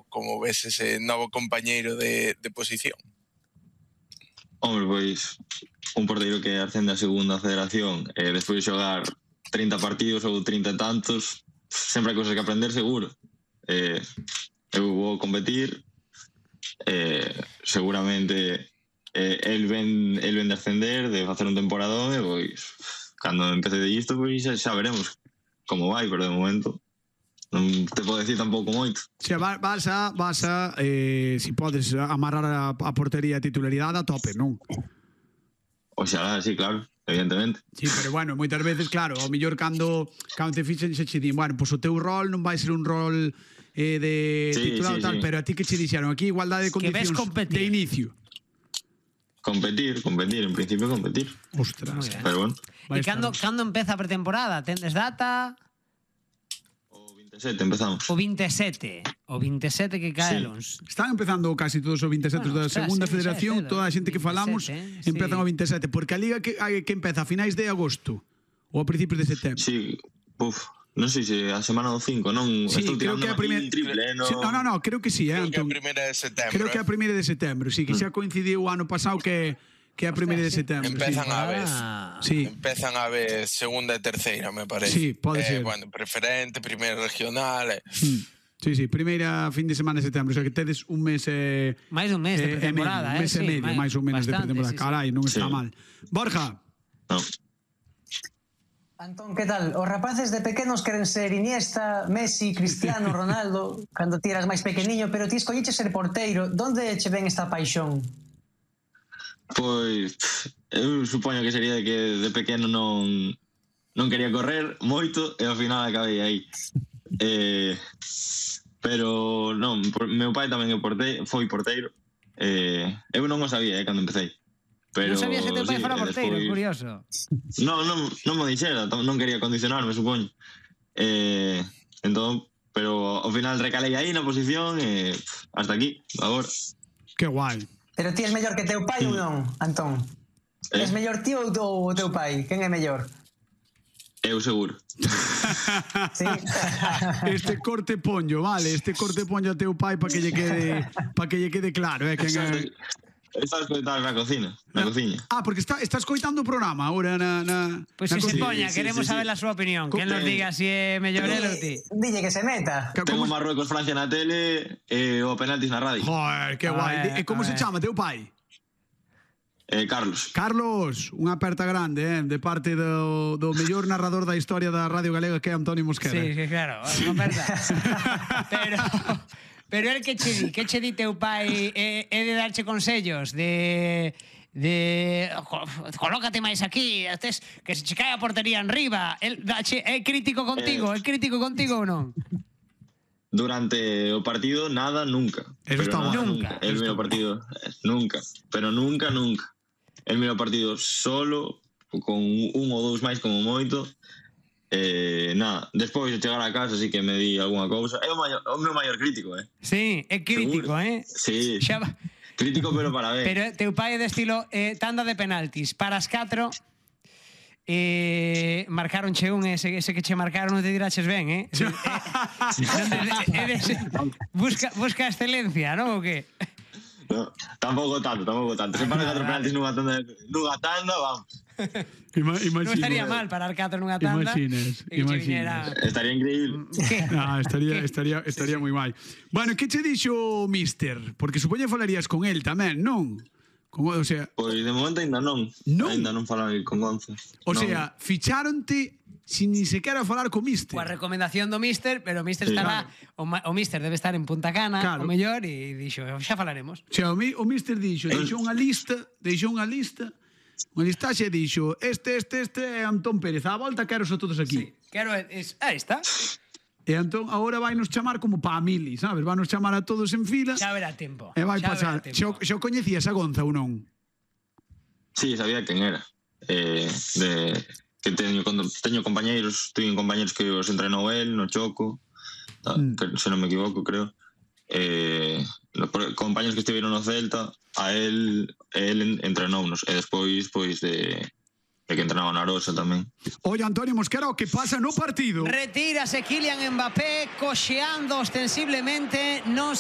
como ves ese novo compañeiro de posición? Hombre, pois un porteiro que ascende a segunda federación despois de xogar 30 partidos ou 30 e tantos, sempre hai cousas que aprender, seguro. Eu vou competir, seguramente el ven de ascender, de facer un temporadón, e pois cando empece de isto, pois xa veremos como vai, pero de momento non te podo decir tampouco moito. Se vas a si podes amarrar a portería a titularidade a tope, non? Oxalá, sí, claro, evidentemente. Sí, pero bueno, moitas veces, claro, ao mellor cando te fixen xe che din, bueno, pois o teu rol non vai ser un rol de titular tal, pero a ti que che dixeron aquí igualdade de condicións de inicio. Competir, en principio competir. Ostras. Pero bueno. E cando empeza a pretemporada? Tendes data? O 27 empezamos. O 27 que cae Alons. Están empezando casi todos os 27 da segunda federación, toda a xente que falamos empezan o 27, porque a liga que empeza a finais de agosto ou a principios de setembro. Sí, non sei se a semana do 5, non? Sí, creo que é a primeira triple, no, creo que sí, Creo que é a primeira de setembro. Creo que é a primeira de setembro, sí, que xa coincidiu o ano pasado que é a primeira de setembro. Empezan a vez. Sí. Empezan a vez segunda e terceira, me parece. Sí, pode ser. Bueno, preferente, primeira regional. Sí, primeira fin de semana de setembro, o sea que tedes un mes máis dun mes de pretemporada, un mes e medio, máis ou menos de pretemporada. Carai, non está mal. Borja. Non. Antón, que tal? Os rapaces de pequenos queren ser Iniesta, Messi, Cristiano, Ronaldo, cando ti eras máis pequeniño, pero ti escolliches ser porteiro. Donde che ven esta paixón? Pois, eu supoño que sería de que de pequeno non quería correr moito e ao final acabei aí. Pero non, meu pai tamén foi porteiro. Eu non o sabía cando empecé. Pero non sabías que teu pai fora porteiro, curioso. Non me dixera, non quería condicionarme, supoño. Entón, pero ao final recalei aí na posición e hasta aquí, agora. Que guai. Pero ti és mellor que teu pai ou non, Antón? És mellor ti ou teu pai? Quen é mellor? Eu seguro. Sí. Este corte ponllo, vale, a teu pai para que lle quede claro, quen é. Estás coitando na cociña. Porque estás coitando o programa agora na... Pois se poña, queremos saber a súa opinión. Que nos diga se é mellor el ou ti. Dille que se meta. Tengo Marruecos, Francia na tele e o penaltis na radio. Joder, que guai. E como se chama teu pai? Carlos. Carlos, unha aperta grande, de parte do mellor narrador da historia da Radio Galega, que é Antonio Mosquera. Sí, claro, unha aperta. Pero el que che di teu pai é de darche consellos de colócate máis aquí, que se che cae a portería enriba. É crítico contigo, ou non? Durante o partido nada, nunca. Eso está mal. Nunca. El miro partido nunca, pero nunca. El miro partido solo, con un ou dous máis como moito. Nada, despois de chegar a casa sí que me di algunha cousa. É o meu maior crítico, Sí, é crítico, Sí, crítico pero para ver. Pero teu pai é de estilo tanda de penaltis, para as 4 marcaronche un, ese que che marcaron non te diraches ben, busca excelencia, non? O que? No, tampouco tanto. Se para 4 penaltis nunha tanda, vamos. Non estaría mal parar 4 nunha tanda. Imaginas. Estaría increíble. Estaría moi guai. Bueno, que che dixo o Mister? Porque supoño que falarías con el tamén, non? O sea, pois de momento ainda non. Ainda non falei con Gonzo. O sea, ficháronte sin ni sequera falar co Mister. Coa recomendación do Mister, pero o Mister estará, o Mister debe estar en Punta Cana, o mellor, e dixo, xa falaremos. O sea, o Mister dixo unha listaxe e dixo, este é Antón Pérez, á volta quero a todos aquí. Sí, quero, aí está. E entón, agora vai nos chamar como pa a mili, sabes? Vai nos chamar a todos en fila. Xa verá tempo. E vai pasar. Xa coñecías a Gonza ou non? Sí, sabía quen era. Que teño compañeiros que os entrenou el no Choco, se non me equivoco, creo. Compañeros que estiveron no Celta, a el entrenounos, e despois de que entrenaba na Arosa tamén. Oye, Antonio Mosquera, o que pasa no partido? Retírase Kylian Mbappé coxeando ostensiblemente, non